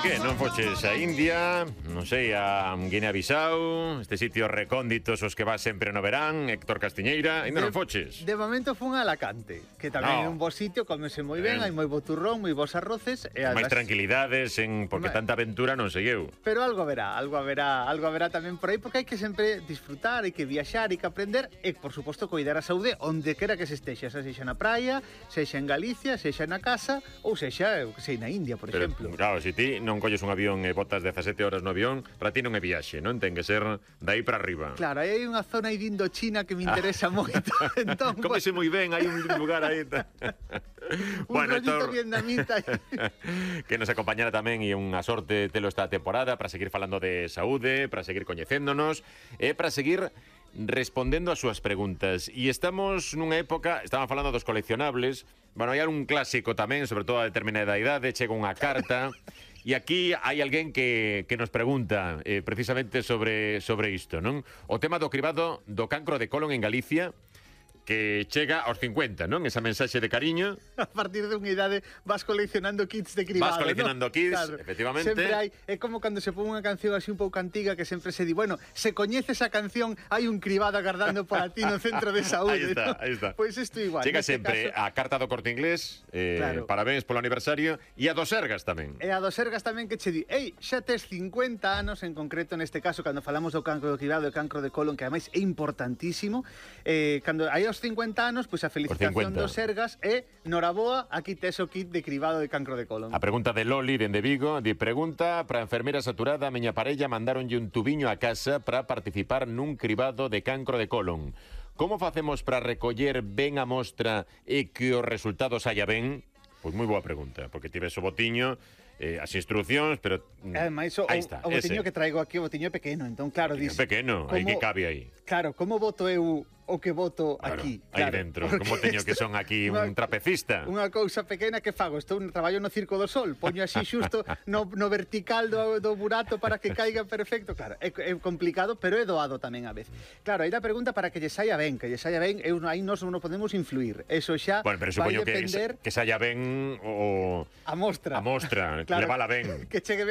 Que non foches a India, non sei, a Guinea-Bissau, este sitio recónditos os que vas sempre no verán, Héctor Castiñeira, ainda non foches. De momento fun a Alacante, que tamén é un bo sitio, comese moi ben, hai moi bo turrón, moi bons arroces e máis tranquilidades, porque tanta aventura non sei eu. Pero algo haberá tamén por aí, porque hai que sempre disfrutar, hai que viaxar, hai que aprender e, por suposto, coidar a saúde onde quera que se estexa, sexa na praia, sexa en Galicia, sexa na casa ou sexa, eu que sei, na India, por exemplo. Claro, se ti non colles un avión e botas 17 horas no avión, para ti non é viaxe, non? Ten que ser dai para arriba. Claro, hai unha zona aí de Indochina que me interesa moito. Entón, comese moi ben, hai un lugar aí. Un rollito vietnamita. Que nos acompañara tamén e unha sorte telo esta temporada para seguir falando de saúde, para seguir coñecéndonos e para seguir respondendo as súas preguntas. E estamos nunha época, estaban falando dos coleccionables, bueno, hai un clásico tamén, sobre todo a determinada idade, chega unha carta, e aquí hai alguén que nos pregunta precisamente sobre isto, non? O tema do cribado do cancro de colon en Galicia, que chega aos 50, non? Esa mensaxe de cariño. A partir de unha idade vas coleccionando kits de cribado. Vas coleccionando, ¿no? Kits, claro. Efectivamente. Sempre hai, é como cando se pon unha canción así un pouco antiga que sempre se di, bueno, se coñeces a canción, hai un cribado agardando para ti no centro de saúde. Aí está. Pois isto igual. Chega sempre a carta do Corte Inglés, claro. Parabéns polo aniversario, e a do Sergas tamén. E a do Sergas tamén que che di, ei, xa tes 50 anos, en concreto neste caso, cando falamos do cancro do cribado e cancro de colon, que ademais é importantísimo, cando hai os 50 anos, pois a felicitación do Sergas e noraboa, aquí tes o kit de cribado de cancro de colon. A pregunta de Loli dende Vigo, di pregunta para a enfermeira saturada, a miña parella mandaronlle un tubiño a casa para participar nun cribado de cancro de colon. Como facemos para recoller ben a mostra e que os resultados saia ben? Pois moi boa pregunta, porque tives o botiño, as instruccións, pero ademais, aí está, o botiño que traigo aquí, o botiño é pequeno, entón claro, dis, pequeno, aí que cabe aí. Claro, como boto eu o que boto aquí? Aí dentro, como teño que son aquí un trapecista. Unha cousa pequena que fago, estou no traballo no Circo do Sol, poño así xusto no vertical do burato para que caiga perfecto. Claro, é complicado, pero é doado tamén a vez. Claro, aí da pregunta para que lle saia ben, aí nós non podemos influir. Eso xa vai depender que saia ben o a mostra. Claro, levala ben. Que chegue ben